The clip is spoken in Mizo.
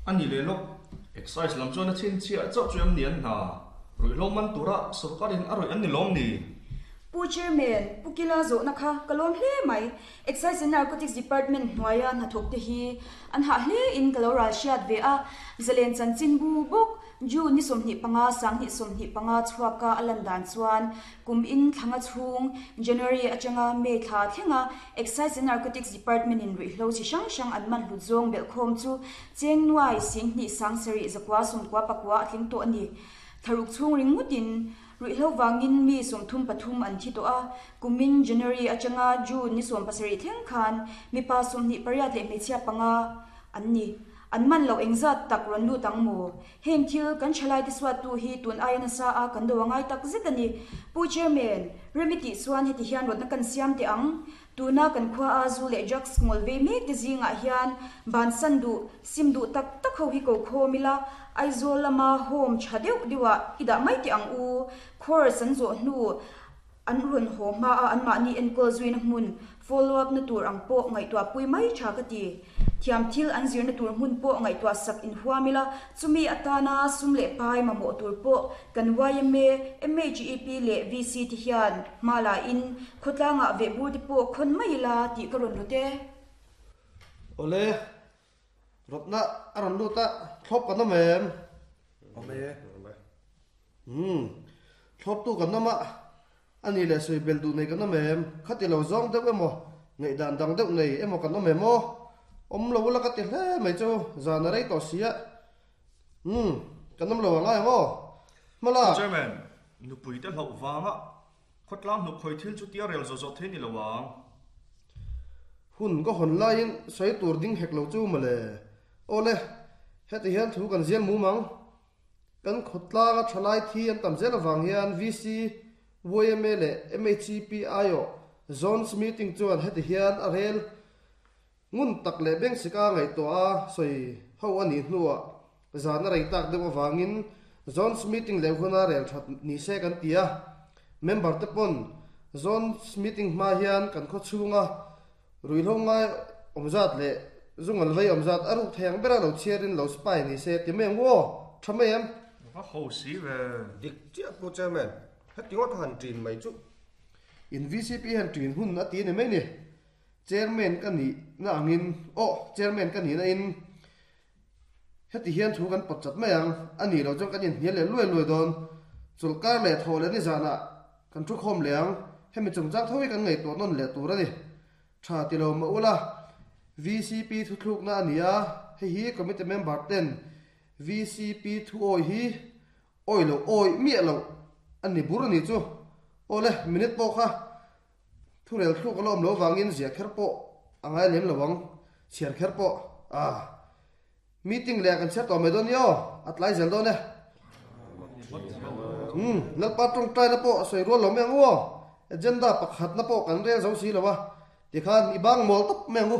A ni leh lawk, Excise lam chuan a chhinchhiah chauh chu em ni an hna? Ruihhlo man tura sawrkarin a rawih an ni lawm ni? Pu Chairman, Pu Kila zawhna kha ka lawm hle mai. Excise and Narcotics Department hnuaia hnathawkte hi an hah hle in ka lo ral hriat ve a, zalen chanchin bu bawk June ni 25 2025 chhuaka a lan dan chuan kum in thlanga chhung January atanga May thla thlenga Excise and Narcotics Department in ruihhlo chi hrang hrang an man hlut zawng belhkhawm chu cheng nuai 10 2 9 pakua a tling tawh a ni. Tharuk chhung ringawtin Ruihhlo vangin mi 33 an thi tawh a, kumin January atanga June ni 17 thleng khan mipa 28 leh hmeichhia panga an ni. An man loh engzat tak rawn lut ang maw? Heng thil kan thalaite suattu hi tun aia nasa a kan do a ngai tak zet a ni. Pu Chairman, rem i tih chuan heti hian rawtna kan siam teh ang. Tuna kan khua a zu leh drugs ngawl ve mek te zingah hian bansan duh, sim duh tak tak ho hi ko khawm ila, Aizawl lama home tha deuh deuhah i dah mai teh ang u. Course an zawh hnu an rawn haw hma a anmahni enkawl zuina hmun follow up na tur ang pawh ngaihtuah pui mai tha ka ti. Thiam thil an zirna tur hmun pawh ngaihtuah sak inhuam ila, chumi atana sum leh pai mamawh tur pawh kan yma, MHEP leh VC te hian hma la in khawtlangah vehbur te pawh khawn mai ila tih ka rawn rawt e. Awle, rawtna a rawn lut a, thlawp kan awm em? Awm e. Umm, thlawptu kan awm a, A ni leh sawi belh duh nei kan awm em? Khati lo zawng deuh emaw, ngaihdan dang deuh nei emaw kan awm em aw? Awm lo ula ka ti hle mai chu, zan a rei tawh si a. Umm, kan awm lo a ngai ang aw. Hmala. Pu Chairman, nupui te hlauh vanga khawtlang hnuk khawi thil chu tia rel zawh zawh thei ni lo ang. Hun ka hawn laiin sawi tur ding hek lo chu mawle. Awle, heti hian thu kan zial mum ang. Kan khawtlanga thalai thi an tam zel avang hian VC, yma leh MHEP aiawh Zones meeting chuan heti hian a rel ngun tak leh bengsika ngaihtuah a sawi ho a nih hnuah zan a rei tak deuh avangin Zones meeting leh huna rel that ni se kan ti a. Member te pawn Zones meeting hma hian kan khaw chhunga Ruihhlo ngai awm zat leh zungal vei awm zat a ruk thei ang bera lo chhiarin lo spy ni se ti mai ang u aw, tha mai em? Va ho si ve. Dik chiah Pu Chairman, heti ngawt han ṭin mai chu. In vcp hian ṭin hun a ti a ni mai ni. Chairman ka nih na angin, aw Chairman ka nih na in heti hian thu kan pawt chat mai ang, a nih loh chuan kan inhnial leh luai luai dawn. Chawlhkar leh thawh leh nizanah Kan thu khawm leh ang, hemi chungchang tho hi kan ngaihtuah nawn leh tur a ni. Tha ti lo mah ula, vcp thuthlukna a ni a, hei hi committee member ten vcp thu awi hi awi loh awi miah loh a ni bur a ni chu. Awle, minute pawh kha thurel thluk a la awm lo vangin ziah kher pawh a ngai lem lo ang, chhiar kher pawh a. Meeting leh kan chhiar tawh mai dawn nia aw, a tlai zel dawn e. Umm, Lalpa tawngtaina pawh a sawi rual lo mai ang u aw, agenda pakhatna pawh kan rel zo si lo a, tikhan i bang mawl tawp mai ang u.